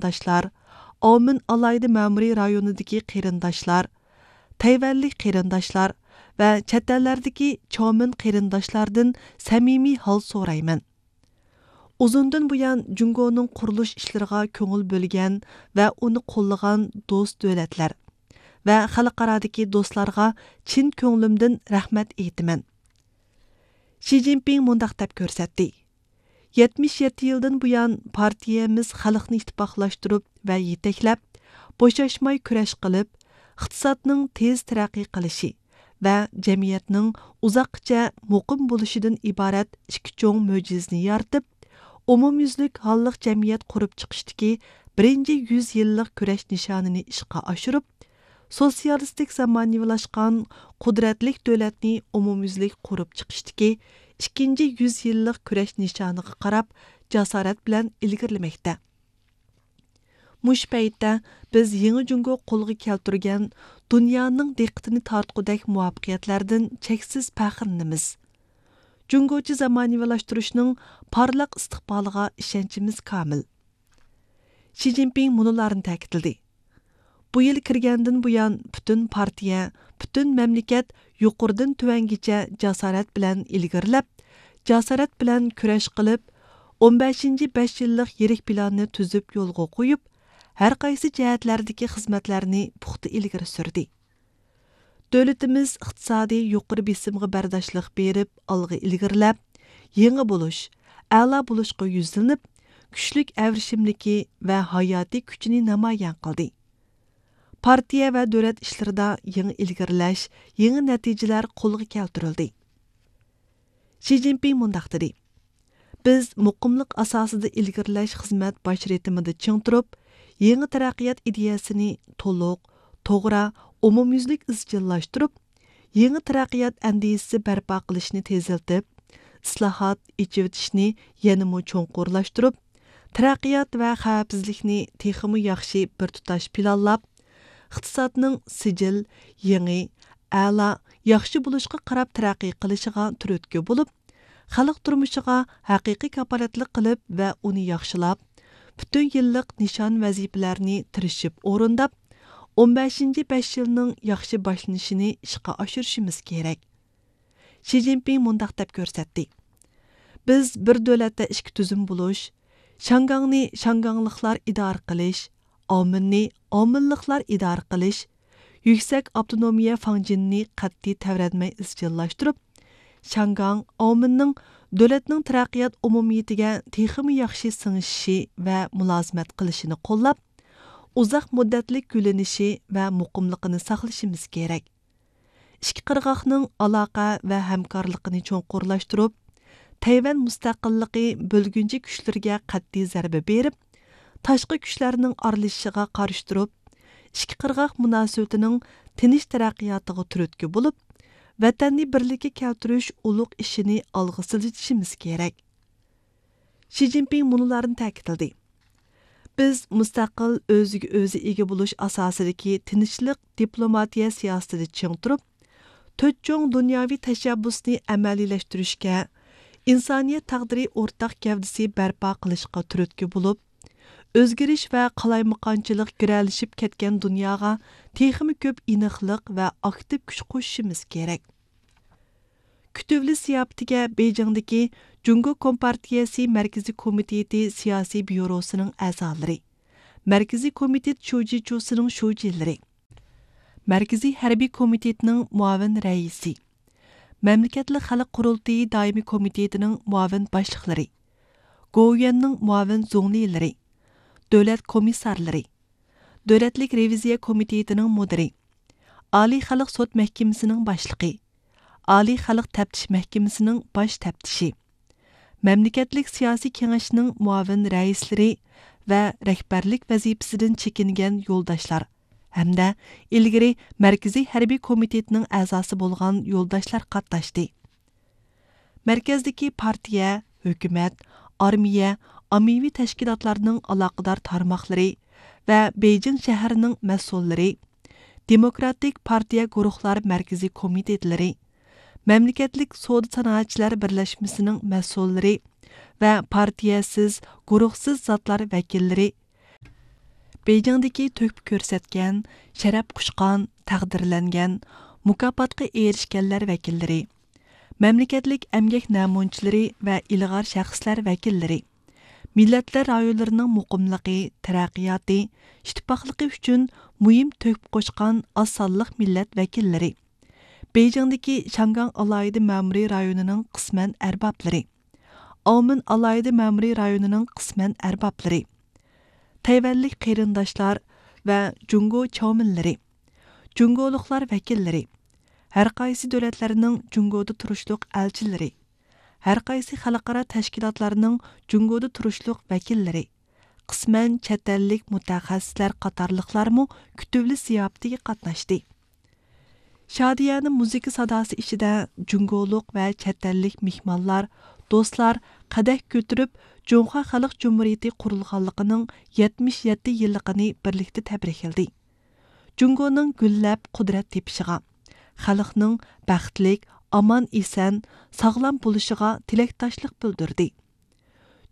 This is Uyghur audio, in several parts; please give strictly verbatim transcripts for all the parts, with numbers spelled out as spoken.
قېرىنداشلار، ئاۋمېن ئالاھىدە مەمۇرىي رايونىدىكى قېرىنداشلار، تەيۋەنلىك قېرىنداشلار ۋە چەت ئەللەردىكى چاۋمېن قېرىنداشلاردىن سەمىمىي ھال سورايمەن. ئۇزۇندىن بۇيان جۇڭگونىڭ قۇرۇلۇش ئىشلىرىغا كۆڭۈل بۆلگەن ۋە ئۇنى قوللىغان دوست دۆلەتلەر ۋە خەلقئارادىكى دوستلارغا چىن كۆڭلۈمدىن رەھمەت ئېيتىمەن. شى جىنپىڭ مۇنداق دەپ كۆرسەتتى: يەتمىش يەتتە يىلدىن بۇيان پارتىيەمىز خەلقنى ئىتتىپاقلاشتۇرۇپ ۋە يېتەكلەپ، بوشاشماي كۈرەش قىلىپ، ئىقتىسادنىڭ تېز تەرەققىي قىلىشى ۋە جەمئىيەتنىڭ ئۇزاققىچە مۇقىم بولۇشىدىن ئىبارەت ئىككى چوڭ مۆجىزىنى يارىتىپ، ئومۇميۈزلۈك ھاللىق جەمئىيەت قۇرۇپ چىقىشتىكى بىرىنچى يۈز يىللىق كۈرەش نىشانىنى ئىشقا ئاشۇرۇپ، سوتسىيالىستىك زامانىۋىلاشقان قۇدرەتلىك دۆلەتنى ئومۇميۈزلۈك قۇرۇپ چىقىشتىكى ئىككىنچى يۈز يىللىق كۈرەش نىشانىغا قاراپ جاسارەت بىلەن ئىلگىرىلىمەكتە. مۇشۇ پەيتتە بىز يېڭى جۇڭگو قولغا كەلتۈرگەن دۇنيانىڭ دىققىتىنى تارتقۇدەك مۇۋەپپەقىيەتلەردىن چەكسىز پەخىرلىنىمىز. جۇڭگوچە زامانىۋىلاشتۇرۇشنىڭ پارلاق ئىستىقبالىغا ئىشەنچىمىز كامىل. شى جىنپىڭ مۇنۇلارنى تەكىتلىدى: بۇ يىل كىرگەندىن بۇيان، پۈتۈن پارتىيە، پۈتۈن مەملىكەت يۇقىرىدىن تۆۋەنگىچە جاسارەت بىلەن ئىلگىرىلەپ، جاسارەت بىلەن كۈرەش قىلىپ، ئون بەشىنچى بەش يىللىق يىرىك پىلاننى تۈزۈپ يولغا قويۇپ، ھەر قايسى جەھەتلەردىكى خىزمەتلەرنى پۇختا ئىلگىرى سۈردى. دۆلىتىمىز ئىقتىسادىي يۇقىرى بېسىمغا بەرداشلىق بېرىپ، ئالغا ئىلگىرىلەپ، يېڭى بولۇش، ئەلا بولۇشقا يۈزلىنىپ، كۈچلۈك ئەۋرىشىملىكى ۋە ھاياتىي كۈچىنى نامايان قىلدى. پارتىيە ۋە دۆلەت ئىشلىرىدا يېڭى ئىلگىرىلەش، يېڭى نەتىجىلەر قولغا كەلتۈرۈلدى. شى جىنپىڭ مۇنداق دېدى: بىز مۇقىملىق ئاساسىدا ئىلگىرىلەش خىزمەت باش رىتىمىدا چىڭ تۇرۇپ، يېڭى تەرەققىيات ئىدىيەسىنى تولۇق، توغرا، ئومۇميۈزلۈك ئىزچىللاشتۇرۇپ، يېڭى تەرەققىيات ئەندىزىسى بەرپا قىلىشنى تېزلىتىپ، ئىسلاھات، ئېچىۋېتىشنى يەنىمۇ چوڭقۇرلاشتۇرۇپ، تەرەققىيات ۋە خەۋپسىزلىكنى تېخىمۇ ياخشى بىر تۇتاش پىلانلاپ، ئىقتىسادنىڭ سىجىل، يېڭى، ئەلا، ياخشى بولۇشقا قاراپ تەرەققىي قىلىشىغا تۈرتكە بولۇپ، خەلق تۇرمۇشىغا ھەقىقىي كاپالەتلىك قىلىپ ۋە ئۇنى ياخشىلاپ، پۈتۈن يىللىق نىشان ۋەزىپىلەرنى تىرىشىپ ئورۇنداپ، ئون بەشىنچى بەش يىلنىڭ ياخشى باشلىنىشىنى ئىشقا ئاشۇرۇشىمىز كېرەك. شى جىنپىڭ مۇنداق دەپ كۆرسەتتى: بىز بىر دۆلەتتە ئىككى تۈزۈم بولۇش، شياڭگاڭنى شياڭگاڭلىقلار ئىدارە قىلىش، ئاۋمېننى ئاۋمېنلىقلار ئىدارە قىلىش، يۈكسەك ئاپتونومىيە فاڭجېنىنى قەتئىي تەۋرەنمەي ئىزچىللاشتۇرۇپ، شياڭگاڭ ئاۋمېننىڭ دۆلەتنىڭ تەرەققىيات ئومۇمىيىتىگە تېخىمۇ ياخشى سىڭىشىشى ۋە مۇلازىمەت قىلىشىنى قوللاپ، ئۇزاق مۇددەتلىك گۈللىنىشى ۋە مۇقىملىقىنى ساقلىشىمىز كېرەك. ئىككى قىرغاقنىڭ ئالاقە ۋە ھەمكارلىقىنى چوڭقۇرلاشتۇرۇپ، تەيۋەن مۇستەقىللىقى بۆلگۈنچى كۈچلىرىگە قەتئىي زەربە بېرىپ، تاشقى كۈچلەرنىڭ ئارىلىشىشىغا قارشى تۇرۇپ، ئىككى قىرغاق مۇناسىۋىتىنىڭ تىنچ تەرەققىياتىغا تۈرتكە بولۇپ، ۋەتەننى بىرلىككە كەلتۈرۈش ئۇلۇغ ئىشىنى ئالغا سىلجىتىشىمىز كېرەك. شى جىنپىڭ مۇنۇلارنى تەكىتلىدى: بىز مۇستەقىل، ئۆزىگە ئۆزى ئىگە بولۇش ئاساسىدىكى تىنچلىق دىپلوماتىيە سىياسىتىدە چىڭ تۇرۇپ، تۆت چوڭ دۇنياۋى تەشەببۇسنى ئەمەلىيلەشتۈرۈشكە، ئىنسانىيەت تەقدىرى ئورتاق گەۋدىسى بەرپا قىلىشقا تۈرتكە بولۇپ، ئۆزگىرىش ۋە قالايمىقانچىلىق گىرەلىشىپ كەتكەن دۇنياغا تېخىمۇ كۆپ ئېنىقلىق ۋە ئاكتىپ كۈچ قوشۇشىمىز كېرەك. كۈتۈۋېلىش زىياپىتىگە بېيجىڭدىكى جۇڭگو كومپارتىيەسى مەركىزىي كومىتېتى سىياسىي بيۇروسىنىڭ ئەزالىرى، مەركىزىي كومىتېت شۇجىچۇسىنىڭ شۇجىلىرى، مەركىزىي ھەربىي كومىتېتنىڭ مۇئاۋىن رەئىسى، مەملىكەتلىك خەلق قۇرۇلتىيى دائىمىي كومىتېتىنىڭ مۇئاۋىن باشلىقلىرى، گوۋۇيۈەننىڭ مۇئاۋىن زۇڭلىلىرى، دۆلەت كومىسسارلىرى، دۆلەتلىك رېۋىزىيە كومىتېتىنىڭ مۇدىرى، ئالىي خەلق سوت مەھكىمىسىنىڭ باشلىقى، ئالىي خەلق تەپتىش مەھكىمىسىنىڭ باش تەپتىشى، مەملىكەتلىك سىياسىي كېڭەشنىڭ مۇئاۋىن رەئىسلىرى ۋە رەھبەرلىك ۋەزىپىسىدىن چېكىنگەن يولداشلار ھەمدە ئىلگىرى مەركىزىي ھەربىي كومىتېتنىڭ ئەزاسى بولغان يولداشلار قاتناشتى. مەركەزدىكى پارتىيە، ھۆكۈمەت، ئارمىيە، ئاممىۋى تەشكىلاتلارنىڭ ئالاقىدار تارماقلىرى ۋە بېيجىڭ شەھىرىنىڭ مەسئۇللىرى، دېموكراتىك پارتىيە گۇرۇھلار مەركىزىي كومىتېتلىرى، مەملىكەتلىك سودا سانائەتچىلەر بىرلەشمىسىنىڭ مەسئۇللىرى ۋە پارتىيەسىز، گۇرۇھسىز زاتلار ۋەكىللىرى، بېيجىڭدىكى تۆھپە كۆرسەتكەن، شەرەپ قۇچقان، تەقدىرلەنگەن، مۇكاپاتقا ئېرىشكەنلەر ۋەكىللىرى، مەملىكەتلىك ئەمگەك نەمۇنىچىلىرى ۋە ئىلغار شەخسلەر ۋەكىللىرى، مىللەتلەر رايونلىرىنىڭ مۇقىملىقى، تەرەققىياتى، ئىتتىپاقلىقى ئۈچۈن مۇھىم تۆھپە قوشقان ئاز سانلىق مىللەت ۋەكىللىرى، بېيجىڭدىكى شياڭگاڭ ئالاھىدە مەمۇرىي رايونىنىڭ قىسمەن ئەربابلىرى، ئاۋمېن ئالاھىدە مەمۇرىي رايونىنىڭ قىسمەن ئەربابلىرى، تەيۋەنلىك قېرىنداشلار ۋە جۇڭگو چاۋمىنلىرى، جۇڭگولۇقلار ۋەكىللىرى، ھەرقايسى دۆلەتلەرنىڭ جۇڭگودا تۇرۇشلۇق ئەلچىلىرى، ھەرقايسى خەلقئارا تەشكىلاتلارنىڭ جۇڭگودا تۇرۇشلۇق ۋەكىللىرى، قىسمەن چەت ئەللىك مۇتەخەسسىسلەر قاتارلىقلارمۇ كۈتۈۋېلىش زىياپىتىگە قاتناشتى. شادىيانە مۇزىكا ساداسى ئىچىدە جۇڭگولۇق ۋە چەت ئەللىك مېھمانلار، دوستلار قەدەھ كۆتۈرۈپ، جۇڭخۇا خەلق جۇمھۇرىيىتى قۇرۇلغانلىقىنىڭ يەتمىش يەتتە يىللىقىنى بىرلىكتە تەبرىكلىدى. جۇڭگونىڭ گۈللەپ قۇدرەت تېپىشىغا، خەلقنىڭ بەختلىك، ئامان-ئېسەن، ساغلام بولۇشىغا تىلەكداشلىق بىلدۈردى.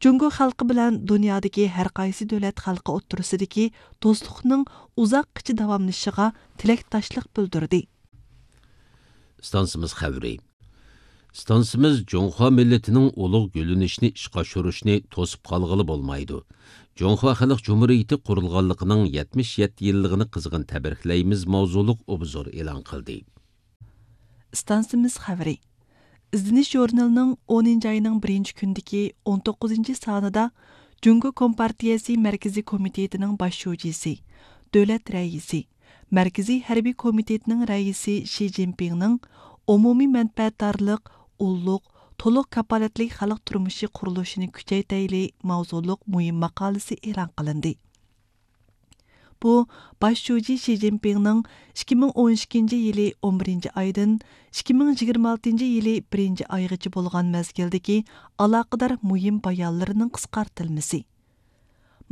جۇڭگو خەلقى بىلەن دۇنيادىكى ھەرقايسى دۆلەت خەلقى ئوتتۇرىسىدىكى دوستلۇقنىڭ ئۇزاققىچە داۋاملىشىشىغا تىلەكداشلىق بىلدۈردى. ئىستانسىمىز خەۋىرى. ئىستانسىمىز جۇڭخۇا مىللىتىنىڭ ئۇلۇغ گۈللىنىشىنى ئىشقا ئاشۇرۇشنى توسۇپ قالغىلى بولمايدۇ. جۇڭخۇا خەلق جۇمھۇرىيىتى قۇرۇلغانلىقىنىڭ يەتمىش يەتتە يىللىقىنى قىزغىن تەبرىكلەيمىز ماۋزۇلۇق ئوبزور ئېلان قىلدى. ئىستانسىمىز خەۋىرى. ئىزدىنىش ژۇرنىلىنىڭ ئونىنچى ئاينىڭ بىرىنچى كۈنىدىكى ئون توققۇزىنچى سانىدا جۇڭگو كومپارتىيەسى مەركىزىي كومىتېتىنىڭ باش شۇجىسى، دۆلەت رەئىسى، مەركىزىي ھەربىي كومىتېتنىڭ رەئىسى شى جىنپىڭنىڭ ئومۇمىي مەنپەئەتدارلىق، ئۇللۇق، تولۇق كاپالەتلىك خەلق تۇرمۇشى قۇرۇلۇشىنى كۈچەيتەيلى ماۋزۇلۇق مۇھىم ماقالىسى ئېلان قىلىندى. بۇ، باش شۇجى شى جىنپىڭنىڭ ئىككى مىڭ ئون ئىككىنچى يىلى ئون بىرىنچى ئايدىن ئىككى مىڭ يىگىرمە ئالتىنچى يىلى بىرىنچى ئايغىچە بولغان مەزگىلدىكى ئالاقىدار مۇھىم بايانلىرىنىڭ قىسقارتىلمىسى.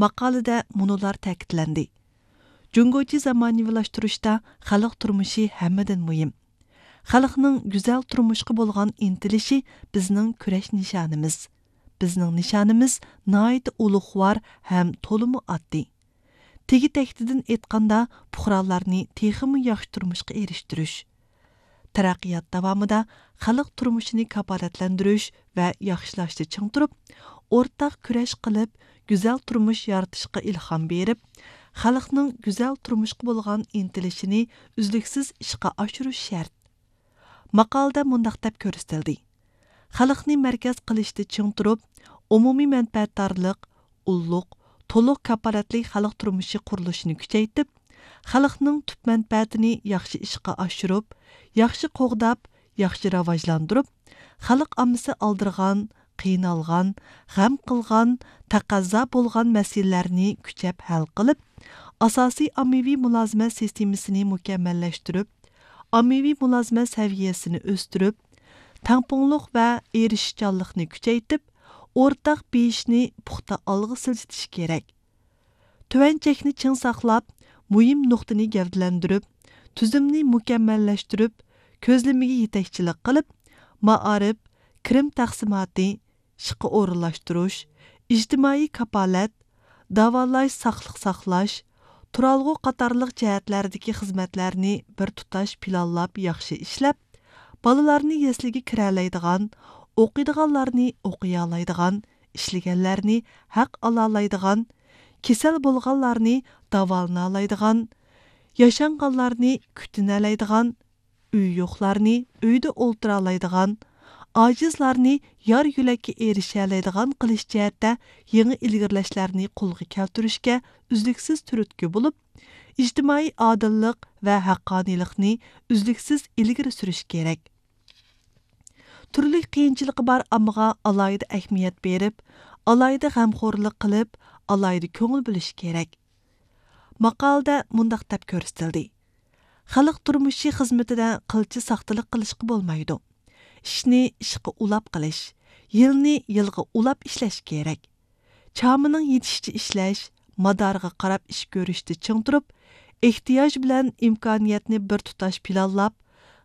ماقالىدە مۇنۇلار تەكىتلەندى: جۇڭگوچە زامانىۋىلاشتۇرۇشتا خەلق تۇرمۇشى ھەممىدىن مۇھىم. خەلقنىڭ گۈزەل تۇرمۇشقا بولغان ئىنتىلىشى بىزنىڭ كۈرەش نىشانىمىز. بىزنىڭ نىشانىمىز ناھايىتى ئۇلۇغۋار ھەم تولىمۇ ئاددىي. تېگى تەكتىدىن ئېيتقاندا، پۇقرالارنى تېخىمۇ ياخشى تۇرمۇشقا ئېرىشتۈرۈش، تەرەققىيات داۋامىدا خەلق تۇرمۇشىنى كاپالەتلەندۈرۈش ۋە ياخشىلاشتا چىڭ تۇرۇپ، ئورتاق كۈرەش قىلىپ، گۈزەل تۇرمۇش يارىتىشقا ئىلھام بېرىپ، خەلقنىڭ گۈزەل تۇرمۇشقا بولغان ئىنتىلىشىنى ئۈزلۈكسىز ئىشقا ئاشۇرۇش شەرت. ماقالىدە مۇنداق دەپ كۆرسىتىلدى: خەلقنى مەركەز قىلىشتا چىڭ تۇرۇپ، ئومۇمىي مەنپەئەتدارلىق، ئۇللۇق، تولۇق كاپالەتلىك خەلق تۇرمۇشى قۇرۇلۇشىنى كۈچەيتىپ، خەلقنىڭ تۈپ مەنپەئەتىنى ياخشى ئىشقا ئاشۇرۇپ، ياخشى قوغداپ، ياخشى راۋاجلاندۇرۇپ، خەلق ئاممىسى ئالدىرىغان، قىينالغان، غەم قىلغان، تەقەززا بولغان مەسىلىلەرنى كۈچەپ ھەل قىلىپ، ئاساسىي ئاممىۋى مۇلازىمەت سىستېمىسىنى مۇكەممەللەشتۈرۈپ، ئاممىۋى مۇلازىمەت سەۋىيەسىنى ئۆستۈرۈپ، تەڭپۇڭلۇق ۋە ئېرىشىشچانلىقنى كۈچەيتىپ، ئورتاق بېيىشنى پۇختا ئالغا سىلجىتىش كېرەك. تۆۋەن چەكنى چىڭ ساقلاپ، مۇھىم نۇقتىنى گەۋدىلەندۈرۈپ، تۈزۈمنى مۇكەممەللەشتۈرۈپ، كۆزلىمىگە يېتەكچىلىك قىلىپ، مائارىپ، كىرىم تەقسىماتى، ئىشقا ئورۇنلاشتۇرۇش، ئىجتىمائىي كاپالەت، داۋالاش، ساقلىق ساقلاش، تۇرالغۇ قاتارلىق جەھەتلەردىكى خىزمەتلەرنى بىر تۇتاش پىلانلاپ ياخشى ئىشلەپ، بالىلارنى يەسلىگە كىرەلەيدىغان، ئوقۇيدىغانلارنى ئوقۇيالايدىغان، ئىشلىگەنلەرنى ھەق ئالالايدىغان، كېسەل بولغانلارنى داۋالىنالايدىغان، ياشانغانلارنى كۈتۈنەلەيدىغان، ئۆيى يوقلارنى ئۆيدە ئولتۇرالايدىغان، ئاجىزلارنى يار يۆلەككە ئېرىشەلەيدىغان قىلىش جەھەتتە يېڭى ئىلگىرىلەشلەرنى قولغا كەلتۈرۈشكە ئۈزلۈكسىز تۈرتكە بولۇپ، ئىجتىمائىي ئادىللىق ۋە ھەققانىيلىقنى ئۈزلۈكسىز ئىلگىرى سۈرۈش كېرەك. تۈرلۈك قىيىنچىلىقى بار ئاممىغا ئالاھىدە ئەھمىيەت بېرىپ، ئالاھىدە غەمخورلۇق قىلىپ، ئالاھىدە كۆڭۈل بۆلۈش كېرەك. ماقالىدە مۇنداق دەپ كۆرسىتىلدى: خەلق تۇرمۇشى خىزمىتىدە قىلچە ساختىلىق قىلىشقا بولمايدۇ. ئىشنى ئىشقا ئۇلاپ قىلىش، يىلنى يىلغا ئۇلاپ ئىشلەش كېرەك. چامىنىڭ يېتىشىچە ئىشلەش، مادارىغا قاراپ ئىش كۆرۈشتە چىڭ تۇرۇپ، ئېھتىياج بىلەن ئىمكانىيەتنى بىر تۇتاش پىلانلاپ،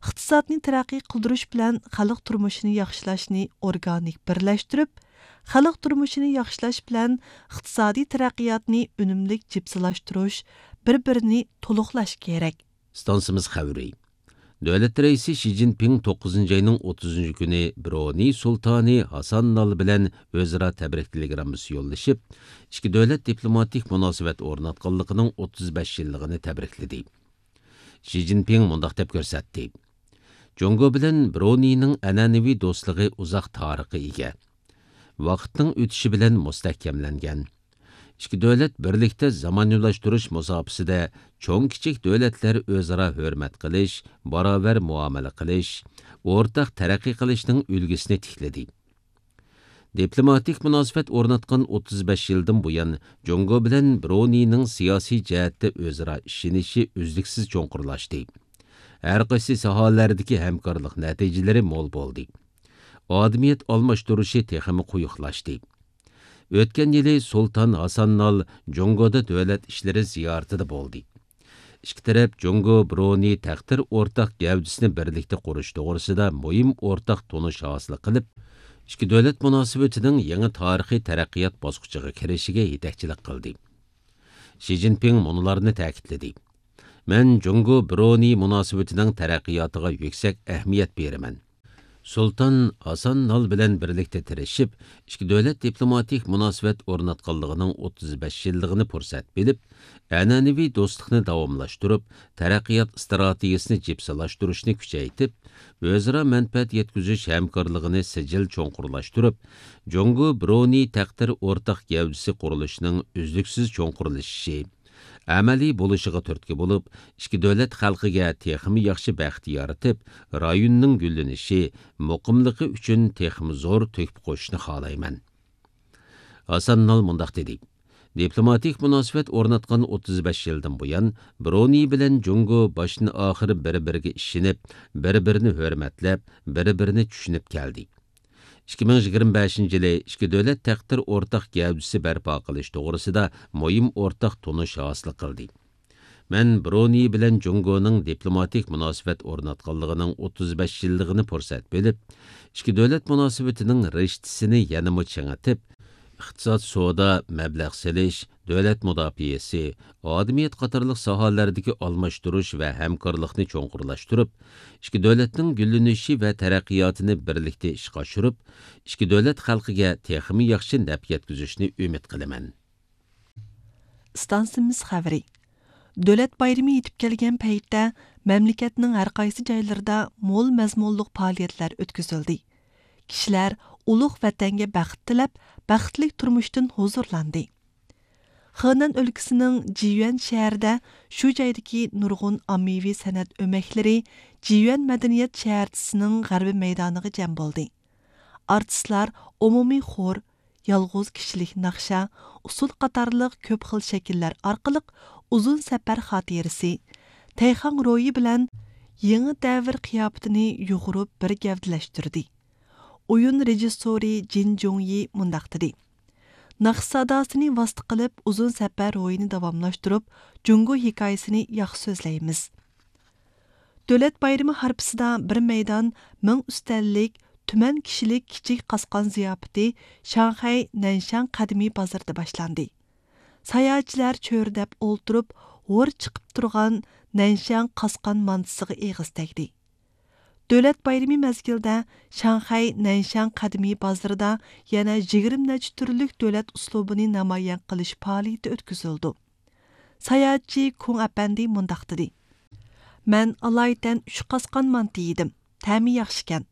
ئىقتىسادنى تەرەققىي قىلدۇرۇش بىلەن خەلق تۇرمۇشىنى ياخشىلاشنى ئورگانىك بىرلەشتۈرۈپ، خەلق تۇرمۇشىنى ياخشىلاش بىلەن ئىقتىسادىي تەرەققىياتنى ئۈنۈملۈك جىپسىلاشتۇرۇش، بىر-بىرىنى تولۇقلاش كېرەك. ئىستانسىمىز خەۋىرى. دۆلەت رەئىسى شى جىنپىڭ توققۇزىنچى ئاينىڭ ئوتتۇزىنچى كۈنى برۇنېي سۇلتانى ھاسان نال بىلەن ئۆزئارا تەبرىك تېلېگراممىسى يوللىشىپ، ئىككى دۆلەت دىپلوماتىك مۇناسىۋەت ئورناتقانلىقىنىڭ ئوتتۇز بەش يىللىقىنى تەبرىكلىدى. شى جىنپىڭ مۇنداق دەپ كۆرسەتتى: جۇڭگو بىلەن برۇنېينىڭ ئەنئەنىۋى دوستلۇقى ئۇزاق تارىخقا ئىگە. ۋاقىتنىڭ ئۆتۈشى بىلەن مۇستەھكەملەنگەن. ئىككى دۆلەت بىرلىكتە زامانىۋىلاشتۇرۇش مۇساپىسىدە چوڭ-كىچىك دۆلەتلەر ئۆزئارا ھۆرمەت قىلىش، باراۋەر مۇئامىلە قىلىش، ئورتاق تەرەققىي قىلىشنىڭ ئۈلگىسىنى تىكلىدى. دىپلوماتىك مۇناسىۋەت ئورناتقان ئوتتۇز بەش يىلدىن بۇيان، جۇڭگو بىلەن برۇنېينىڭ سىياسىي جەھەتتە ئۆزئارا ئىشىنىشى ئۈزلۈكسىز چوڭقۇرلاشتى. ھەر قايسى ساھەلەردىكى ھەمكارلىق نەتىجىلىرى مول بولدى. ئادىمىيەت ئالماشتۇرۇشى تېخىمۇ قويۇقلاشتى. ئۆتكەن يىلى سۇلتان ھاسان نال جۇڭگودا دۆلەت ئىشلىرى زىيارىتىدە بولدى. ئىككى تەرەپ جۇڭگو برۇنېي تەقدىر ئورتاق گەۋدىسىنى بىرلىكتە قۇرۇش توغرىسىدا مۇھىم ئورتاق تونۇش ھاسىل قىلىپ، ئىككى دۆلەت مۇناسىۋىتىنىڭ يېڭى تارىخىي تەرەققىيات باسقۇچىغا كىرىشىگە يېتەكچىلىك قىلدى. شى جىنپىڭ مۇنۇلارنى تەكىتلىدى: مەن جۇڭگو برۇنېي مۇناسىۋىتىنىڭ تەرەققىياتىغا يۈكسەك ئەھمىيەت بېرىمەن. سۇلتان ھاسان نال بىلەن بىرلىكتە تىرىشىپ، ئىككى دۆلەت دىپلوماتىك مۇناسىۋەت ئورناتقانلىقىنىڭ ئوتتۇز بەش يىللىقىنى پۇرسەت بىلىپ، ئەنئەنىۋى دوستلۇقنى داۋاملاشتۇرۇپ، تەرەققىيات ئىستراتېگىيىسىنى جىپسىلاشتۇرۇشنى كۈچەيتىپ، ئۆزئارا مەنپەئەت يەتكۈزۈش ھەمكارلىقىنى سىجىل چوڭقۇرلاشتۇرۇپ، جۇڭگو برۇنېي تەقدىر ئورتاق گەۋدىسى قۇرۇلۇشىنىڭ ئۈزلۈكسىز چوڭقۇرلىشىشى، ئەمەلىي بولۇشىغا تۈرتكە بولۇپ، ئىككى دۆلەت خەلقىگە تېخىمۇ ياخشى بەخت يارىتىپ، رايوننىڭ گۈللىنىشى، مۇقىملىقى ئۈچۈن تېخىمۇ زور تۆھپە قوشۇشنى خالايمەن. ھاسان نال مۇنداق دېدى: دىپلوماتىك مۇناسىۋەت ئورناتقان ئوتتۇز بەش يىلدىن بۇيان، برۇنېي بىلەن جۇڭگو باشتىن ئاخىر بىر-بىرىگە ئىشىنىپ، بىر-بىرىنى ھۆرمەتلەپ، بىر-بىرىنى چۈشىنىپ كەلدى. ئىككى مىڭ يىگىرمە بەشىنچى يىلى ئىككى دۆلەت تەقدىر ئورتاق گەۋدىسى بەرپا قىلىش توغرىسىدا مۇھىم ئورتاق تونۇش ھاسىل قىلدى. مەن برۇنېي بىلەن جۇڭگونىڭ دىپلوماتىك مۇناسىۋەت ئورناتقانلىقىنىڭ ئوتتۇز بەش يىللىقىنى پۇرسەت بىلىپ، ئىككى دۆلەت مۇناسىۋىتىنىڭ رىشتىسىنى يەنىمۇ چىڭىتىپ، ئىقتىساد، سودا، مەبلەغ سېلىش، دۆلەت مۇداپىئەسى، ئادىمىيەت قاتارلىق ساھەلەردىكى ئالماشتۇرۇش ۋە ھەمكارلىقنى چوڭقۇرلاشتۇرۇپ، ئىككى دۆلەتنىڭ گۈللىنىشى ۋە تەرەققىياتىنى بىرلىكتە ئىشقا ئاشۇرۇپ، ئىككى دۆلەت خەلقىگە تېخىمۇ ياخشى نەپ يەتكۈزۈشنى ئۈمىد قىلىمەن. ئىستانسىمىز خەۋىرى. دۆلەت بايرىمى يېتىپ كەلگەن پەيتتە، مەملىكەتنىڭ ھەر قايسى جايلىرىدا مول مەزمۇنلۇق پائالىيەتلەر ئۆتكۈزۈلدى. كىشىلەر ئۇلۇغ ۋەتەنگە بەخت تىلەپ، بەختلىك تۇرمۇشتىن ھۇزۇرلاندى. خېنەن ئۆلكىسىنىڭ جىيۈەن شەھىرىدە شۇ جايدىكى نۇرغۇن ئاممىۋى سەنئەت ئۆمەكلىرى جىيۈەن مەدەنىيەت شەھەرچىسىنىڭ غەربىي مەيدانىغا جەم بولدى. ئارتىسلار ئومۇمىي خور، يالغۇز كىشىلىك ناخشا، ئۇسسۇل قاتارلىق كۆپ خىل شەكىللەر ئارقىلىق ئۇزۇن سەپەر خاتىرىسى، تەيخاڭ روھى بىلەن يېڭى دەۋر قىياپىتىنى يۇغۇرۇپ بىر گەۋدىلەشتۈردى. ئويۇن رېژىسسورى جىن جۇڭيى مۇنداق دېدى: ناخشا ساداسىنى ۋاسىتە قىلىپ ئۇزۇن سەپەر روھىنى داۋاملاشتۇرۇپ، جۇڭگو ھېكايىسىنى ياخشى سۆزلەيمىز. دۆلەت بايرىمى ھارپىسىدا بىر مەيدان مىڭ ئۈستەللىك، تۈمەن كىشىلىك كىچىك قاسقان زىياپىتى شاڭخەي نەنشاڭ قەدىمىي بازىرىدا باشلاندى. ساياھەتچىلەر چۆرىدەپ ئولتۇرۇپ، ھور چىقىپ تۇرغان نەنشاڭ قاسقان مانتىسىغا ئېغىز تەگدى. دۆلەت بايرىمى مەزگىلىدە شاڭخەي نەنشاڭ قەدىمىي بازىرىدا يەنە يىگىرمە نەچچە تۈرلۈك دۆلەت ئۇسلۇبىنى نامايان قىلىش پائالىيىتى ئۆتكۈزۈلىدۇ. ساياھەتچى كۇڭ ئەپەندى مۇنداق دېدى: مەن ئالايىتەن ئۈچ قاسقان مانتا يېدىم. تەمى ياخشىكەن.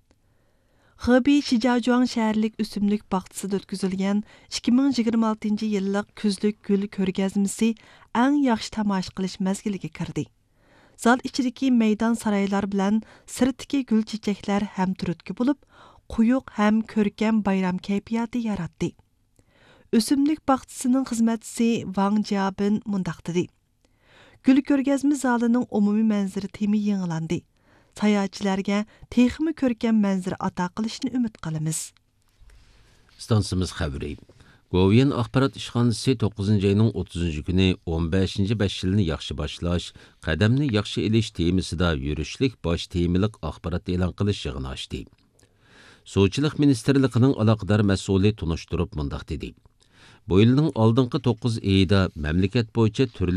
خېبېي شىجياجۇاڭ شەھەرلىك ئۆسۈملۈك باغچىسىدا ئۆتكۈزۈلگەن ئىككى مىڭ يىگىرمە ئالتىنچى يىللىق كۈزلۈك گۈل كۆرگەزمىسى ئەڭ ياخشى تاماشا قىلىش مەزگىلىگە كىردى. زال ئىچىدىكى مەيدان سارايلار بىلەن سىرتتىكى گۈل چېچەكلەر ھەم تۈرتكە بولۇپ، قويۇق ھەم كۆركەم بايرام كەيپىياتى ياراتتى. ئۆسۈملۈك باغچىسىنىڭ خىزمەتچىسى ۋاڭ جيابىن مۇنداق دېدى: گۈل كۆرگەزمە زالىنىڭ ئومۇمىي مەنزىرە تېمى يېڭىلاندى. ساياھەتچىلەرگە تېخىمۇ كۆركەم مەنزىرە ئاتا قىلىشنى ئۈمىد قىلىمىز. ئىستانسىمىز خەۋىرى. گوۋۇيۈەن ئاخبارات ئىشخانىسى توققۇزىنچى ئاينىڭ ئوتتۇزىنچى كۈنى ئون بەشىنچى بەش يىلنى ياخشى باشلاش، قەدەمنى ياخشى ئېلىش تېمىسىدا يۈرۈشلۈك باش تېمىلىق ئاخبارات ئېلان قىلىش يىغىنى ئاچتى. سۇچىلىق مىنىستىرلىقىنىڭ ئالاقىدار مەسئۇلى تونۇشتۇرۇپ مۇنداق دېدى: بۇ يىلنىڭ ئالدىنقى توققۇز ئېيىدا مەملىكەت بويىچە تۈرلۈك